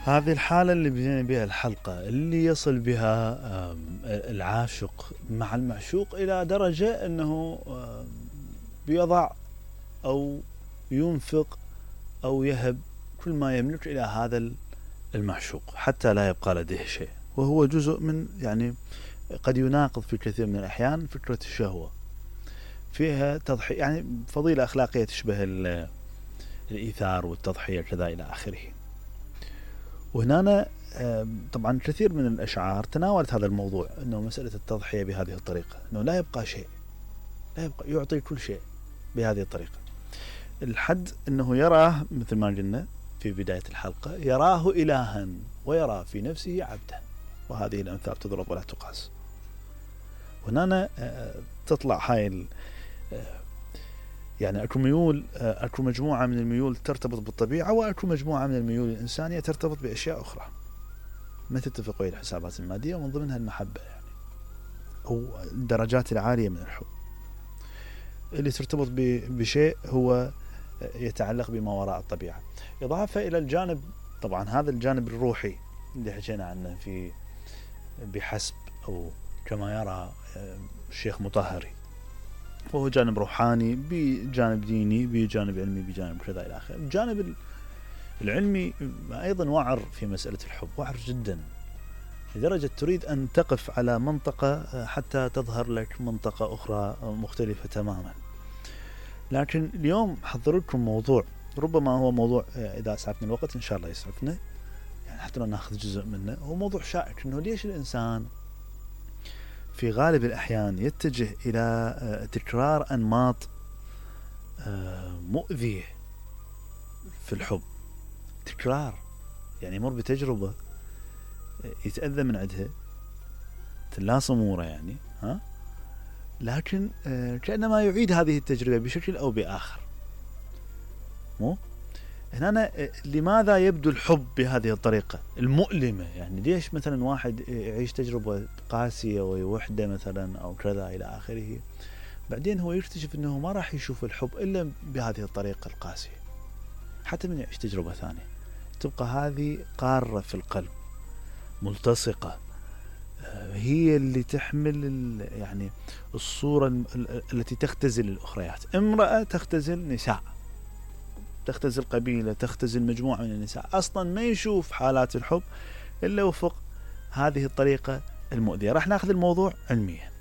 هذه الحالة اللي بدينا بها الحلقة، اللي يصل بها العاشق مع المعشوق إلى درجة أنه بيضع أو ينفق أو يهب كل ما يملك إلى هذا المعشوق حتى لا يبقى لديه شيء، وهو جزء من يعني قد يناقض في كثير من الأحيان فكرة الشهوة، فيها تضحية، يعني فضيلة أخلاقية تشبه الإيثار والتضحية كذا إلى آخره. وهنا طبعا كثير من الأشعار تناولت هذا الموضوع، أنه مسألة التضحية بهذه الطريقة، أنه لا يبقى شيء، لا يبقى، يعطي كل شيء بهذه الطريقة، الحد أنه يراه مثل ما قلنا في بداية الحلقة، يراه إلها ويرى في نفسه عبدا، وهذه الأمثال تضرب ولا تقاس. وهنا تطلع هاي يعني أكو ميول، أكو مجموعة من الميول ترتبط بالطبيعة، وأكو مجموعة من الميول الإنسانية ترتبط بأشياء أخرى ما تتفق ويا الحسابات المادية، ومن ضمنها المحبة يعني، أو الدرجات العالية من الحب اللي ترتبط بشيء هو يتعلق بما وراء الطبيعة، إضافة إلى الجانب طبعا هذا الجانب الروحي اللي حكينا عنه في بحسب أو كما يرى الشيخ مطهري، وهو جانب روحاني بجانب ديني بجانب علمي بجانب كذا إلى آخره. الجانب العلمي أيضا وعر في مسألة الحب، وعر جدا لدرجة تريد أن تقف على منطقة حتى تظهر لك منطقة أخرى مختلفة تماما. لكن اليوم حضر لكم موضوع ربما هو موضوع إذا أسعفنا الوقت إن شاء الله يسعفنا، يعني حتى لو ناخذ جزء منه، هو موضوع شائك، إنه ليش الإنسان في غالب الأحيان يتجه إلى تكرار أنماط مؤذية في الحب. تكرار يعني يمر بتجربة يتأذى من عندها تلاص أموره يعني، لكن كأنما يعيد هذه التجربة بشكل أو بآخر. مو هنا لماذا يبدو الحب بهذه الطريقة المؤلمة؟ يعني ليش مثلا واحد يعيش تجربة قاسية ووحدة مثلا أو كذا إلى آخره، بعدين هو يكتشف أنه ما راح يشوف الحب إلا بهذه الطريقة القاسية، حتى من يعيش تجربة ثانية تبقى هذه قارة في القلب ملتصقة، هي اللي تحمل يعني الصورة التي تختزل الأخريات. امرأة تختزل نساء، تختزل قبيلة، تختزل مجموعة من النساء، أصلا ما يشوف حالات الحب إلا وفق هذه الطريقة المؤذية. راح ناخذ الموضوع علميا.